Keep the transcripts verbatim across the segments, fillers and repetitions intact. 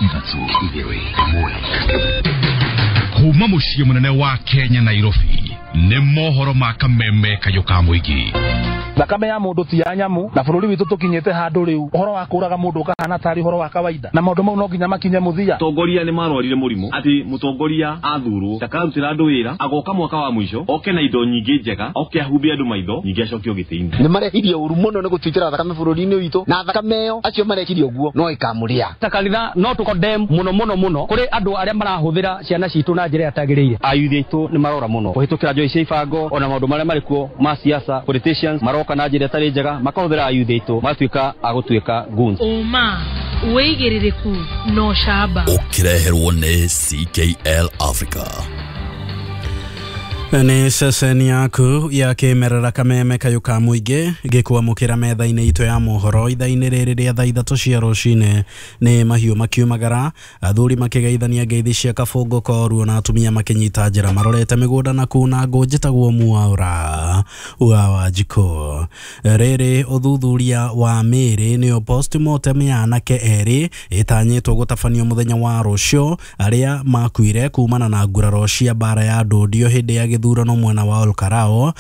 Ithatũ, igĩrĩ, ĩmwe. Kuma mũciĩ mũnene wa Kenya, Nairobi, nĩ mohoro ma Kameme Kayũ ka mũingĩ. Thakame ya mundu ti ya nyamu, na bururi witu tukinyite handu riu uhoro wa kuraga mundu ukahana tari uhoro wa kawaida, na maundu mau no nginya makinye muthia. Tongoria ni marwarire murimu ati mutongoria athurwo ndakarutira andu wira, agoka mwaka wa mwisho oke na indo nyingi njega, oke ahumbe andu maitho nyingi acokio giti-ini. Ni marehirie uru muno ni gutwitira thakame bururi-ini witu, na thakame iyo acio marekirie uguo no ikamuria. Ta kanitha no tu condemn muno muno muno kuri andu aria marahuthira ciana citu na njira yatagiriire. Ayuthi aitu ni marora muno kuhitukira njoi cia ibango ona maundu maria marikuo ma siasa, politicians maroka na njira ĩtarĩ njega, makahũthĩra ayuthi aitũ magatuĩka a gũtuĩka goons. Ũma wĩigĩrĩrĩku no camba ũkĩreherwo nĩ C K L Africa. Nĩ ceceni yaku ya kĩmerera Kameme Kayũ ka mũingĩ gĩkwamũkĩra metha-inĩ itũ ya mohoro ithaa-inĩ rĩrĩ rĩa thaa ithatũ cia rũcinĩ. Nĩ mahiũ makiumagara, athuri makĩgeithania ngeithi cia kabũngũ koruo, na atumia makĩnyita njĩra marorete mĩgũnda na kuna ngũ. Njĩtagwo Mwaura wa Wanjikũ. Rĩrĩ ũthuthuria wa mĩĩrĩ nĩyo postmortem ya anake erĩ ĩtanyĩtwo gũtabanio mũthenya wa rũciũ, arĩa makuire kumana na nguraro cia mbara ya ndũndio hĩndĩ ya gĩthurano mwena wa Olkarao.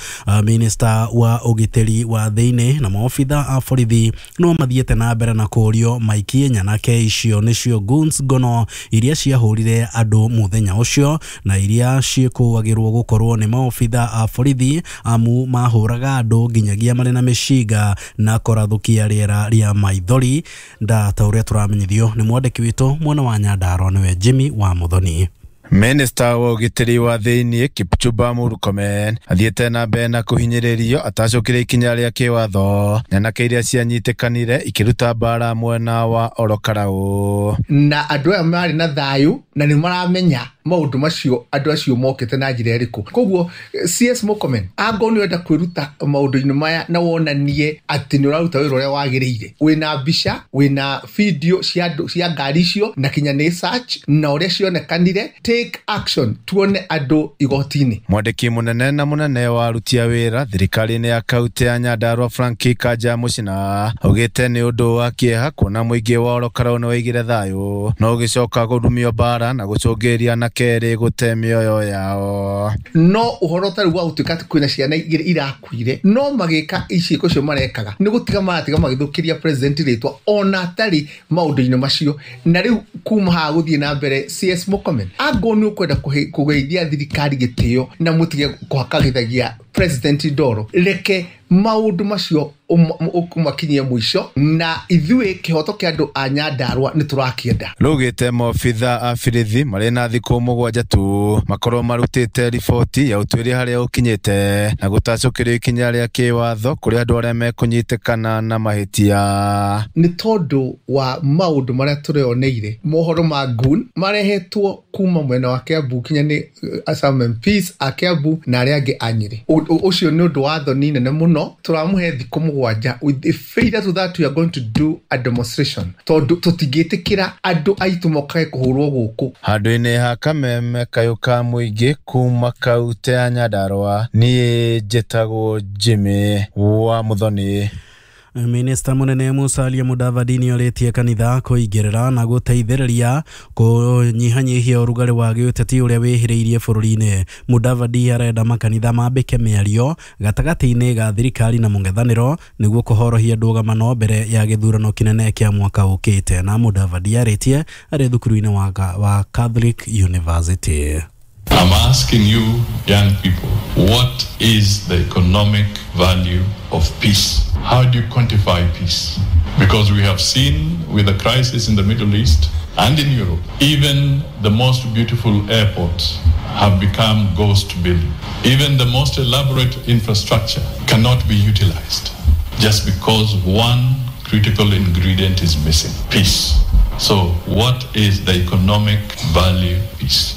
Minista wa ũgitĩri wa thĩinĩ na maobitha a borithi no mathiĩte na mbere na kũũrio maikie nyanake icio nĩcio goons ngono iria ciahũrire andũ mũthenya ũcio, na iria ciĩkũagĩrwo gũkorwo nĩ maobitha a borithi amu mahũraga andũ nginyagia marĩ na mĩcinga na kũrathũkia rĩera rĩa maithori. Nda ta ũrĩa tũramenyithio nĩ mwandĩki witũ mwena wa Nyandarua nĩwe Jimmy wa Muthoni. Minista wa ũgitĩri wa thĩinĩ Kipchumba Murkomen athiĩte na mbere na kũhinyĩrĩrio atacũkĩre ikinya rĩa kĩwatho nyanake iria cianyitĩkanire ikĩruta mbara mwena wa Orokarau. Na andũ aya marĩ na thayũ na nĩ maramenya maũndũ macio andũ acio mokĩte na njĩra ĩrĩkũ. Koguo C S Murkomen angorwo nĩ ũrenda kwĩruta maũndũ-inĩ maya na wonanie atĩ nĩ ũraruta wĩra ũrĩa wagĩrĩire, wĩna mbica, wĩna video cia andũ cia ngari icio na kinya nĩ search na ũrĩa cionekanire, take action tuone andũ igoti-inĩ. Mwandĩki mũnene na mũnene wa aruti a wĩra thirikari-inĩ ya kaunti ya Nyandarua Frank Kanja Mũcina augĩte nĩ ũndũ wa kĩeha kuona mũingĩ wa Orokarau nĩ waigire thayũ no ũgĩcoka kũrumio mbara na gũcũngĩrĩria anake erĩ gũte mĩoyo yao. No ũhoro ũtarĩ wa gũtuĩka atĩ kwĩna ciana igĩrĩ irakuire no magĩka ciĩko icio marekaga nĩ gũtiga maratiga magĩthũkĩria president rĩtwa ona atarĩ maũndũ-inĩ macio. Na rĩu kuma haha gũthiĩ na mbere C S Murkomen angorwo nĩ ũkwenda kũgeithia thirikari gĩtĩo na mũtige kũhakagithagia president ndoro, reke maũndũ macio ũmakinyie mũico, na ithuĩ kĩhoto kĩa andũ a Nyandarua nĩ tũrakĩenda. Rugĩte maobitha a birithi marĩ na thikũ mũgwanja tu makorwo marutĩte riboti ya ũtuĩria harĩa ũkinyĩte na gũtacũkĩrio ikinya rĩa kĩwatho kũrĩ andũ arĩa mekũnyitĩkana na mahĩtia. Nĩ tondũ wa maũndũ marĩa tũreoneire mohoro ma goon marehetwo kuma mwena wa Kiambu kinya nĩ Assam M Ps a Kiambu na arĩa angĩ a Nyĩrĩ. Ũcio nĩ ũndũ wa thoni nene mũno. Tũramũhe thikũ mũgwanja. With the failure to that we are going to do a demonstration tondũ tũtingĩtĩkĩra andũ aitũ mokage kũhũrwo gũkũ. Handũ-inĩ ha Kameme Kayũ ka mũingĩ kuma kaunti ya Nyandarua, niĩ njĩtagwo Jimmy wa Muthoni. Minista munene Musalia Mudavadi nĩorĩtie kanitha kũingĩrĩra na gũteithĩrĩria kũnyihanyihia ũrugarĩ wa gĩũteti ũrĩa wĩhĩrĩirie bũrũri-inĩ. Mudavadi arenda makanitha mambĩke mĩario gatagatĩ-inĩ ga thirikari na mũng'ethanĩro nĩguo kũhorohia ndũgamano mbere ya gĩthurano kĩnene kĩa mwaka ũkĩte. Na Mudavadi arĩtie arĩ thukuru-inĩ wa, wa Catholic University. I'm asking you, young people, what is the economic value of peace? How do you quantify peace? Because we have seen with the crisis in the Middle East and in Europe, even the most beautiful airports have become ghost buildings. Even the most elaborate infrastructure cannot be utilized just because one critical ingredient is missing, peace. So what is the economic value of peace?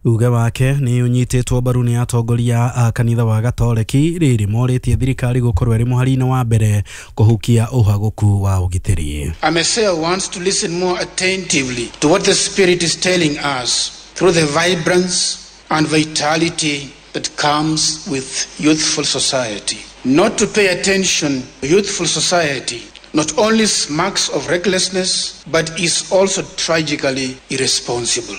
Uge wake nĩ ũnyitĩtwo mbaru nĩ atongoria a kanitha wa Gatoreki rĩrĩ morĩtie thirikari gũkorwo ĩrĩ mũhari-inĩ wa mbere kũhukia ũhagũku wa ũgitĩri. AMECEA wants to listen more attentively to what the Spirit is telling us through the vibrance and vitality that comes with youthful society. Not to pay attention to youthful society not only smacks of recklessness, but is also tragically irresponsible.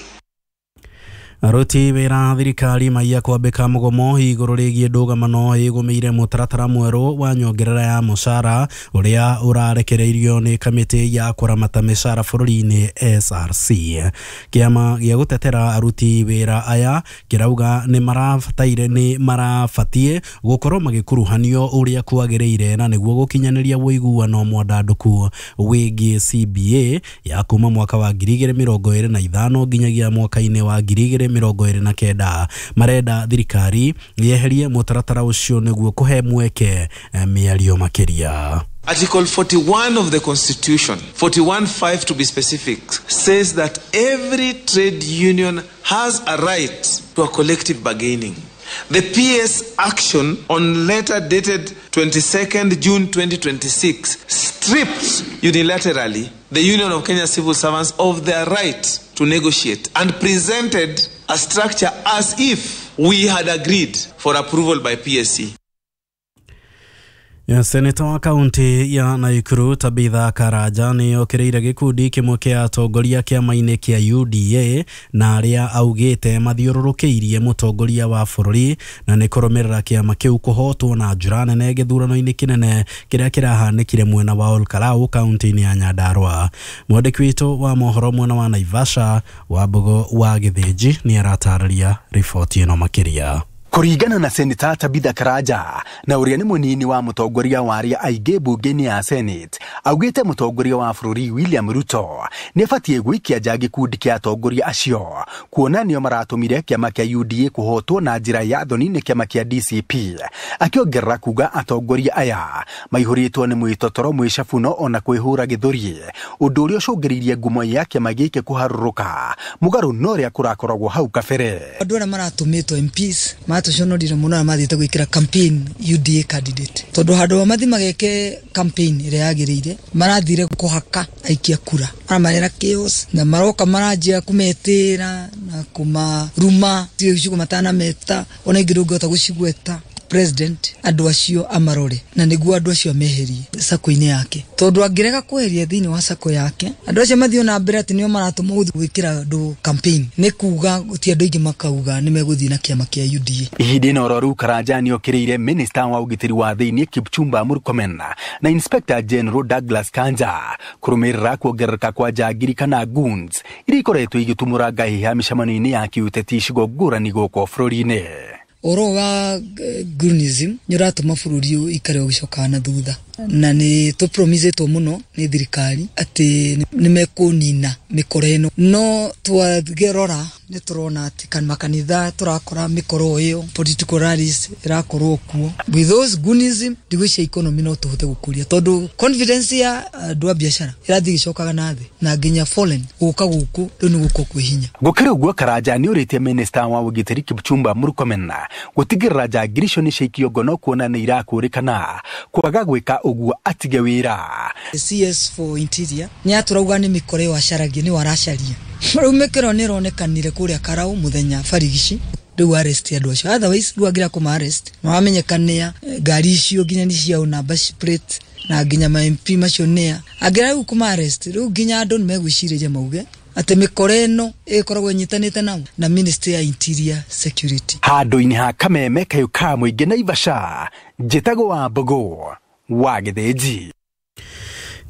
Aruti wĩra thirikari maiya kwambĩka mũgomo igũrũ rĩgiĩ ndũgamano ĩgũmĩire mũtaratara mwerũ wa nyongerera ya mũcara ũrĩa ũrarekereirio nĩ kamĩtĩ ya kũramata mĩcara bũrũri-inĩ S R C. Kĩama gĩa gũtetera aruti wĩra aya kĩrauga nĩ marabataire nĩ marabatiĩ gũkorwo magĩkuruhanio ũrĩa kwagĩrĩire na nĩguo gũkinyanĩria ũiguano mwandandũku wĩgiĩ C B A ya kuma mwaka wa ngiri igĩrĩ mĩrongo ĩrĩ na ithano nginyagia mwaka-inĩ wa ngiri igĩrĩ mĩrongo ĩrĩ na kenda. Marenda thirikari yeherie mũtaratara ũcio nĩguo kũhe mweke mĩario makĩria. Article forty-one of the Constitution, forty-one five to be specific, says that every trade union has a right to a collective bargaining. The P S action on letter dated twenty-second June twenty twenty-six stripped unilaterally the Union of Kenya Civil Servants of their right to negotiate and presented a structure as if we had agreed for approval by P S C. Ya seneta wa kaunti ya Nakuru Tabitha Karanja nĩ okĩrĩire gĩkundi kĩmwe kĩa atongoria kĩama-inĩ kĩa U D A na arĩa augĩte mathiũrũrũkĩirie mũtongoria wa bũrũri na nĩ kũrũmĩrĩra kĩama kĩu kũhotwo na njĩra nene gĩthurano-inĩ kĩnene kĩrĩa kĩrahanĩkire mwena wa Olkalau kaunti-inĩ ya Nyandarua. Mwandĩki witũ wa mohoro mwena wa Naivasha Wambugu wa Gĩthĩnji nĩ aratarĩria riboti ĩno makĩria. Kũringana na Seneta Tabitha Karanja na ũrĩa nĩ mũnini wa mũtongoria wa arĩa aingĩ mbunge-inĩ ya Senate, augĩte mũtongoria wa bũrũri William Ruto nĩ abatiĩ gũikia nja gĩkundi kĩa atongoria acio kuona nĩo maratũmire kĩama kĩa U D A kũhotwo na njĩra ya thoni nĩ kĩama kĩa D C P, akĩongerera kuga atongoria aya maihũrĩtwo nĩ mwĩtotoro mwĩcabuno ona kwĩhũra gĩthũri, ũndũ ũrĩa ũcũngĩrĩirie ngumo ya kĩama gĩkĩ kũharũrũka mũgarũ na ũrĩa kũrakoragwo hau kabere. Andũ arĩa maratũmĩtwo M Ps tuconorire muno mathiĩte gwĩkĩra campaign U D A candidate tondu handũ wa mathi mageke campaign ĩrĩa yagĩrĩire marathire kũhaka aikia kura maramarera chaos na maroka maranjia kũmetĩra na kũmaruma ciugo matana meta ona ingĩ ndũngĩhota gũcigweta. President andũ acio amarore na nĩguo andũ acio ameherie sako-inĩ yake tondu angĩrega kweheria thĩinĩ wa sako yake andũ acio mathiĩ na mbere atĩ nĩo maratũma gũthiĩ gwĩkĩra andũ campaign nĩ kuga gũtirĩ andũ aingĩ makauga nĩ megũthiĩ na kĩama kĩa U D A. Ihinda-inĩ oro rĩu Karanja nĩokĩrĩire minista wa ũgitĩri wa thĩinĩ Kipchumba Murkomen na Inspector General Douglas Kanja kũrũmĩrĩra kuongerereka kwa njangiri kana goons iria ikoretwo igĩtumũra ngahĩha mĩcemanio-inĩ ya kĩũteti icigo ngũrani gũkũ bũrũri-inĩ. Ũhoro wa Goonism nĩ ũratũma bũrũri ũikare ũgĩcokaga na thutha na nĩ tũpromisĩtwo mũno nĩ thirikari atĩ nĩ mekũnina mĩkora ĩno no twagĩrora nĩ tũrona atĩ makanitha tũrakora mĩkoro ĩyo political rallies ĩrakorwo kuo. With those Goonism ndigwĩciria economy no tũhote gũkũria tondũ confidence ya andũ a biacara ĩrathiĩ ĩgĩcokaga na thĩ na nginya foreign gũka gũkũ rĩu nĩ gũkũ kwĩ hinya. Gũkĩrĩ ũguo Karanja nĩ ũrĩtie minista wa ũgitĩri Kipchumba Murkomen gũtigĩrĩra njangiri icio nĩ ciaikio ngono kuona nĩ irakũrĩkana kwaga gwĩka ũguo atige wĩra. C S for Interior nĩ atũrauga nĩ mĩkora ĩyo acaragia nĩyo aracaria rĩu mĩkora nĩ ĩronekanire kũrĩa Karau mũthenya barigici rĩu arrest andũ acio otherwise rĩu angĩra kũma arrest mamenyekanĩa ngari icio nginya nĩ ciao number plate na nginya ma M P macio nĩa angĩra rĩu kũma arrest rĩu nginya andũ nĩ megwĩcirĩria mauge atĩ mĩkora ĩno ĩkoragwo ĩnyitanĩte nao na Ministry ya Interior Security. Handũ-inĩ ha Kameme kayũ ka mũingĩ Naivasha, njĩtagwo Wambugu wa Gĩthĩnji.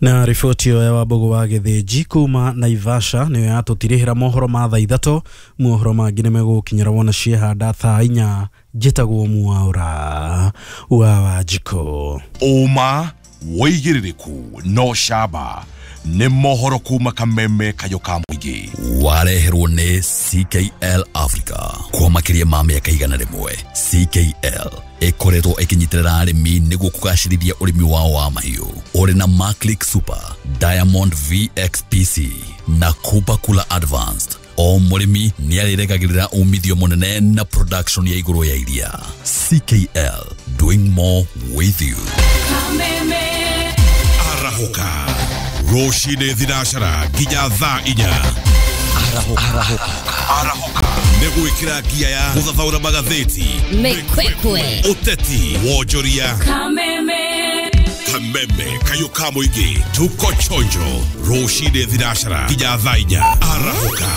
Na riboti ĩyo ya Wambugu wa Gĩthĩnji kuma Naivasha nĩyo yatũtirihĩra mohoro ma thaa ithatũ. Mohoro mangĩ nĩ megũkinyĩra wona ciehanda thaa inya. Njĩtagwo Mwaura wa Wanjikũ. Ũma wĩigĩrĩrĩku no camba nĩ mohoro kuma Kameme kayũ ka mũingĩ wareherwo nĩ C K L Africa kwa makĩria ma mĩaka igana rĩmwe. C K L ĩkoretwo ĩkĩnyitĩrĩra arĩmi nĩguo kũgacĩrithia ũrĩmi wao wa mahiũ ũrĩ na Maclick Super, Diamond V X P C na Kupa Kula Advanced. O mũrĩmi nĩ arĩregagĩrĩra umithio mũnene na production ya igũrũ ya iria. C K L, doing more with you. Arahũka rũcinĩ thinacara nginya thaa inya. Arahũka Arahũka nĩ gwĩkĩra ngia ya gũthathaũra magathĩti, mĩkwekwe, ũteti, wonjoria. Kameme. Kameme. Kameme kayũ ka mũingĩ, tuko chonjo rũcinĩ thinacara nginya thaa inya. Arahũka.